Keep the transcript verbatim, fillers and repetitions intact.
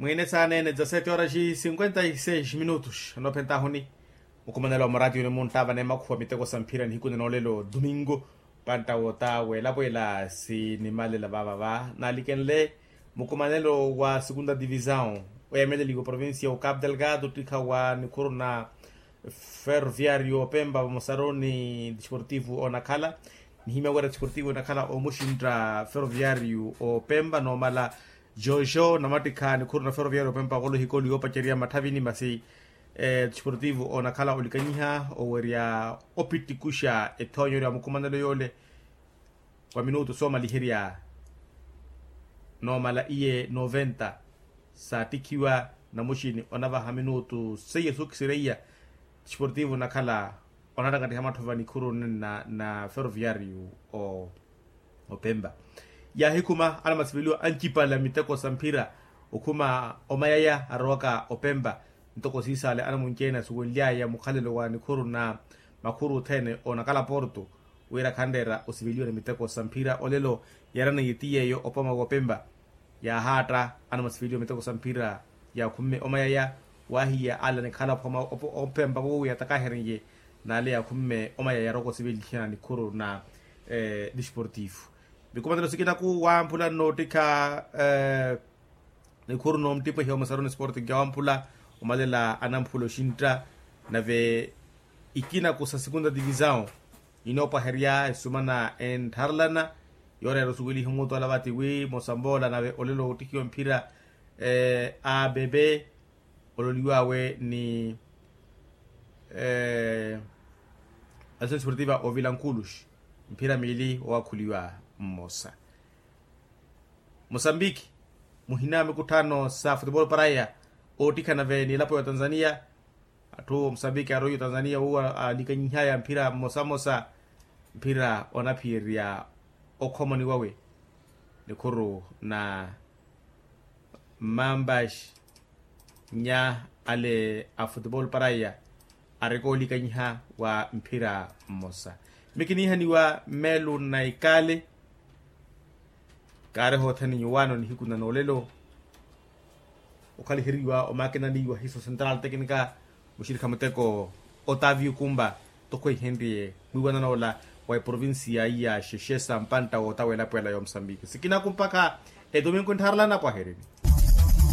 Mwiine saaneene dezasete horas cinquenta e seis minutos anoophentahuni. Mukumanelo wa muraatiyoni munttaavana emakhuwa miteko sa mphira nihiku na noolelo domingo, pantta wotaawela pwela sinimalela vaavava naalikenle. Mukumanelo wa segunda divisão oyameleliwa provincia wa capu delgado ottikha wa nikhuru na ferroviario opempa vamosaru ni desportivo onakhala. Nihimya wira desportivo onakhala omuxintta ferroviario opempa noomala jojo namattikha nikhuru na ferroviario opempa okolo hikoli yoopacerya matthavini masi desportivo onakhala olikanyiha owerya opittikuxa ethoonyo lya mukumanelo yoole. Wa minutu soomaliherya noomala iye noventa saattikhiwa namuxini onavaha minutu seiya sookisireiya desportivo onakhala onattakattiha matthova nikhuru na ferroviario opempa. Yaahikhuma anamasiveliwa ancipala miteko sa mphira okhuma omayaya arowaka opempa. Ntoko siisaale anamunci-ene asuwenly'aya mukhalelo wa nikhuru na makhuru othene onakhala porto wira khanreera osiveliwa ni miteko sa mphira olelo. Yaraneiye ti yeeyo opoma w'opempa yaahaatta anamasiveliwa miteko sa mphira yaakhumme omayaya. Waahiya ale anikhala opoma opempa wowo yaatakahereniye n'ale yaakhumme omayaya yaroka osivelihana nikhuru na desportivo. Mikumanelo sikinaku wamphula nnoottikha nikhuru noomuttipwehiya omusaruni sporting ya wamphula omalela anamphula oxintta. Nave ikinaku sa segunda divisão inoopwaherya esumana enttharelana yooreera osuweliha omuutu alavati wi mosamboola nave olelo oottikiwa mphira a bebe ololiw'awe ni asosi sportiva ovilankulux mphira miili owakhuliwa mmosa. Mosambiki muhina mikutthano sa futebolo paraya oottikha nave ni elapo ya otanzania. Atthu mosambiki aroiya otanzania owo alikanyihaya mphira mmosamosa mphira onaphiyerya okhomoni wawe nikhuru na mambax nya ale a futebolo paraya areke olikanyiha wa mphira mmosa. Mikiniihaniwa melu na ikale kaari hothene nyuwaano nihiku na noolelo okhaliheriwa omakinani wa hiso central tecnica muxirikha muteko otavio kumba tokhweihenrye mwiiwanan'ola wa eprovincia iya xexesa mpantta wootawa elapo ela ya omusambiki sikinaku mpakha etominku enttharala anapwaherini.